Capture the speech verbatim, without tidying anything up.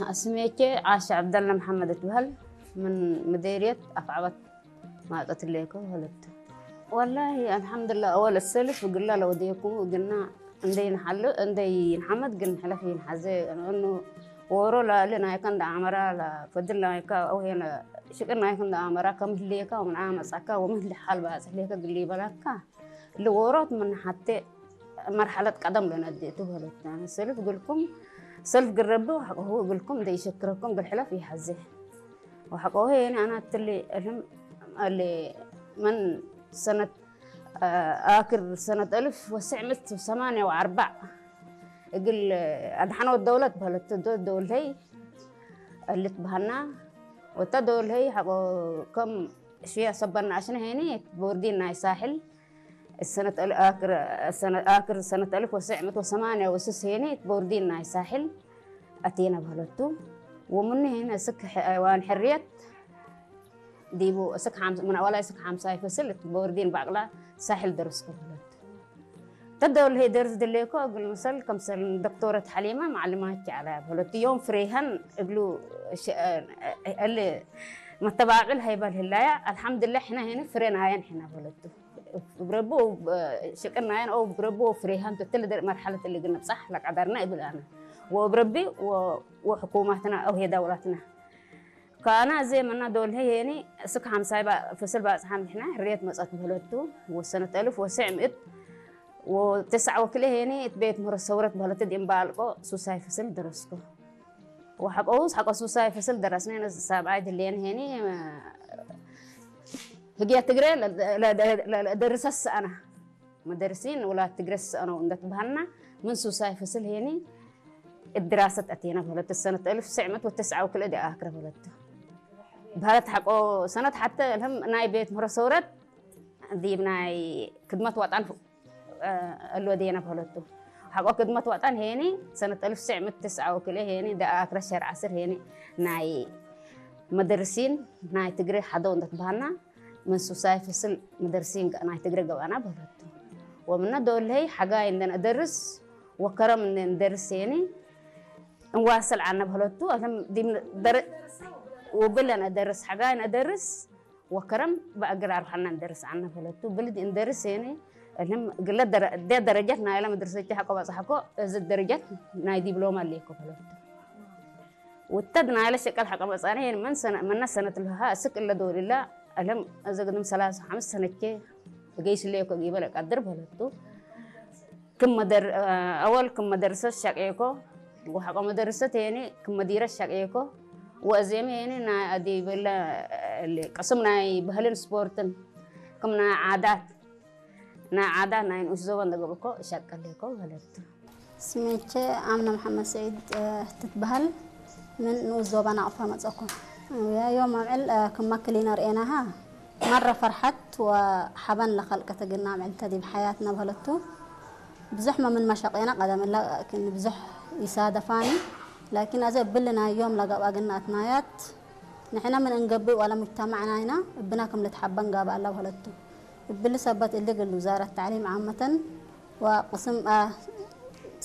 አስሜቼ ዓሻ ዐብደለ መሐመድ እትበህል፣ ምን ምዴርየት አፍዐበት ማጸት ሌኮ በህለት። ወላሂ አልሐምዱላ፣ አወል እሰልፍ እግላ ለወዴኩ እግና እንዴ ይንሐል፣ እንዴ ይንሐመድ ግን ሕለፍ ይንሐዜ፣ እኑ ዎሮ ላሊ ናይከ እንደ አመራ፣ ለፈድል ናይከ አው ሄነ ሽቅር ናይከ እንደ አመራ፣ ከም ህሌከ ወምን አመጻከ ወምን ህሌ ሐል ባጽሕ ሌከ ግሊ በላካ፣ እሊ ዎሮት ምን ሐቴ መርሐለት ቀደም ለነዴቱ በህለት። ሰልፍ እግልኩም፣ ሰልፍ ግረቢ ወሐቆሁ እግልኩም እንዴ ይሸክረኩም እግል ሕለፍ ይሐዜ። ወሐቆሁ የኒ አና እትሊ እልም አሌ ምን ሰነት፣ አ፣ አክር ሰነት አልፍ ወትስዕ ምእት ወሰማንያ ወአርበዕ እግል አድሐኖት ደውለት በህለት። ዶ-፣ ደውልተይ እልት በሀና ወታ ደውልተይ ሐቆ ከም ሽያ ሰበና አሽነ ሄኒ ቦርዲን ናይ ሳሕል ሰነት አል-፣ አክር፣ ሰነ-፣ አክር ሰነት አልፍ ወትስዕ ምእት ወሰማንያ ወስስ ሄኒ ቦርዲን ናይ ሳሕል አቴነ በህለቱ። ወምኑ ሄነ እስክ ሐይዋን ሕርየት ዲቡ እስክ ሐምስ-፣ ምን አወላይ እስክ ሐምሳይ ፍስል እት ቦርዲን ባቅላ ሳሕል ደረስኩ በህለት። ተደውል ሄ ደርስ ድሌኮ እግል ምሰል ከምሰል ዶክቶረት ሐሊመ ማዕልማች ዐለ በህለት። ዮም ፍሬሀን እግሉ ሸ-፣ እል መተባቅል ሀይበል ህላያ አልሐምድላ ሕነ ሄነ ፍሬ ናየን ሕነ በህለቱ። እብ ረቢ ሽቅር ናየን አው እብ ረቢ ፍሬሀን ትትል መርሐለት እሊ እግል ንብጻሕ ለቀደርነ እብል አነ ወእብ ረቢ ወ-፣ ወሕኩማትና አው ሄ ደውለትና። ከአነ አዜ መና ዶል ሄኒ እስክ ሐምሳይ ባ-፣ ፍስል ባጽሓን ብሕና ሕርየት መጸት በህለቱ። ወሰነት አልፍ ወትስዕ ምእት ወትስዓ ወክልኤ ሄኒ እት ቤት ምህሮ ሰውረት በህለት ዲም ባልቆ ሱሳይ ፍስል ደረስኮ። ወሐቆሁስ ሐቆ ሱሳይ ፍስል ደረስነ ሳብዓይ ድሌን ሄኒ ህግየ ትግሬ ለ-፣ ለ-፣ ለ-፣ ለደርሰስ አና። መደርሲን ውላድ ትግረ ሰአነው እንደ ትበሀልና፣ ምን ሱሳይ ፍስል ሄኒ እት ድራሰት አቴነ በህለት። ሰነት አልፍ ወትስዕ ምእት ወትስዓ ወክልኤ ዲብ አክረ በህለት። በህለት ሐቆ ሰነት ሐተ እልህም ናይ ቤት ምህሮ ሰውረት ዲብ ናይ ክድመት ወጠን እሎ ዴነ በህለቱ። ሐቆ ክድመት ወጠን ሄኒ ሰነት አልፍ ወትስዕ ምእት ወትስዓ ወክልኤ ሄኒ ዲብ አክረ ሸር ዐስር ሄኒ ናይ መደርሲን ናይ ትግሬ ሐደው እንደ ትበሀልና፣ ምን ሱሳይ ፍስል መደርሲን ናይ ትግሬ ገብአና በህለቱ። ወምነ ዶል ሄይ ሐጋይ እንዴ ነአደርስ ወከረም እንዴ ነአደርስ ሄኒ እንዋስል ዐነ በህለቱ። እልም ዲብ ደረ-፣ ውብል ነአደርስ፣ ሐጋይ ነአደርስ ወከረም በእግል አርሐና እንደርስ ዐነ በህለቱ። ብልድ እንደርስ ሄኒ እልም እግለ ደረ-፣ እዴ ደረጀት ናይለ መድርሰቼ ሐቆ በጽሐኮ፣ እዝ ደረጀት ናይ ዲብሎማ ሌኮ በህለቱ። ውተድ ናይለ ሸቀል ሐቀ መጽአነ ሄን ምን ሰነ-፣ ምነ ሰነት ለሀ እስክ እለ ዶል እለ እልም እዘ ግድም ሰላሳ ሐምስ ሰነቼ እገይስ ሌኮ ጊበ ለቀድር በህለቱ። ክም መደር-፣ አወል ክም መደርሰት ሸቄኮ ወሐቆ መደርሰት ሄኒ ክም መዲረት ሸቄኮ ወእዜመ ሄኒ ናይ አዲበለ ቅስም ናይ ባህልን ስፖርትን ክም ናይ ዓዳት ናይ ዓዳት ናይ ንኡስ ዞበን ለገብእኮ እሸቅል ሌኮ በህለቱ። ስሜቼ አምነ መሐመድ ስዒድ፣ እ፣ ትትበሀል፣ ምን ንኡስ ዞበን አቅፋ መጸኮ። ዮም አምዕል፣ እ፣ ክመ ክሊነ ርኤናሃ፣ መረ ፈርሐት ወሐበን ለከልቀት እግልነ አምዕል ተ ዲብ ሐያትነ በህለቱ። ብዙሕ መ ምን መሸቄነ ቀደም እለ ክን ብዙሕ ኢሳደፋኒ፣ ላኪን አዜ እብሊ ናይ ዮም ለገብአ እግልነ አትናያት፣ ንሕነ ምን እንገብእ ወለ ሙጅተማዕ ናይና እብና ክም ልትሐበን ጋብእ አለ በህለቱ። እብሊ ሰበት እሊ እግል ውዛረት ተዕሊም ዓመተን ወቅስም፣ አ፣